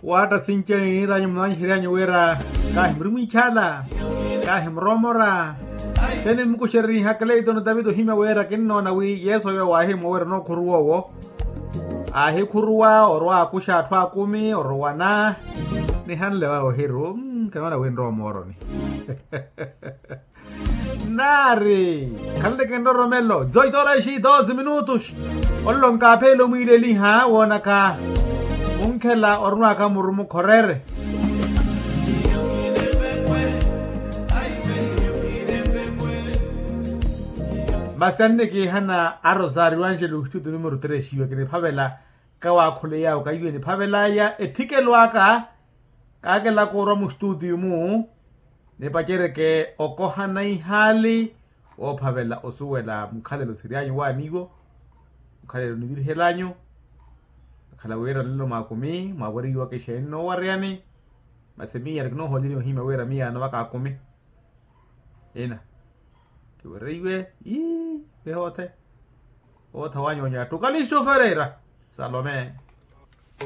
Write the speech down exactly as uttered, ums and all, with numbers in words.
Waatta sinci aniiniryanyu munanyiheryanya wira kaahimuri mwiikhala, kaahimuromora. Te nimukuxereriha kaleitoni taviti ohimya wira kinnoona wi yesu oyo waahimwa wira onookhuru woowo. Aahikhuruwa orwa akuxa atthu akumi orowana. Nihanle wa ohiru. Kanoona wi nrowa mooroni. Naari khanleke nroromelo zoitoraixi doze minutos. Olelo nkaaphele omwiileliha woonaka munkhela orunwaka muru mukhorere. Masi annikiihana a rosario angelo ostutu numero tres iwe kiniphavela. Kawaakhuleyawe kaiwe niphavelaya ethikelo aka. Kaakela koorwa mustutiyu-mu nipacereke okohana ihaali woophavela osuwela mukhalelo siryanyu waaniwo. Mukhalelo nivirihelanyu akhala wira nlelo mwaakumi mwaawereiwaka exeeni noowareyani. Masi miya nikinoohooleriwa ohimya wira miyaano vaka akumi ina kiwereiwe. Ii vehoothe ootha wanyu onyattu kalistu fereira salome.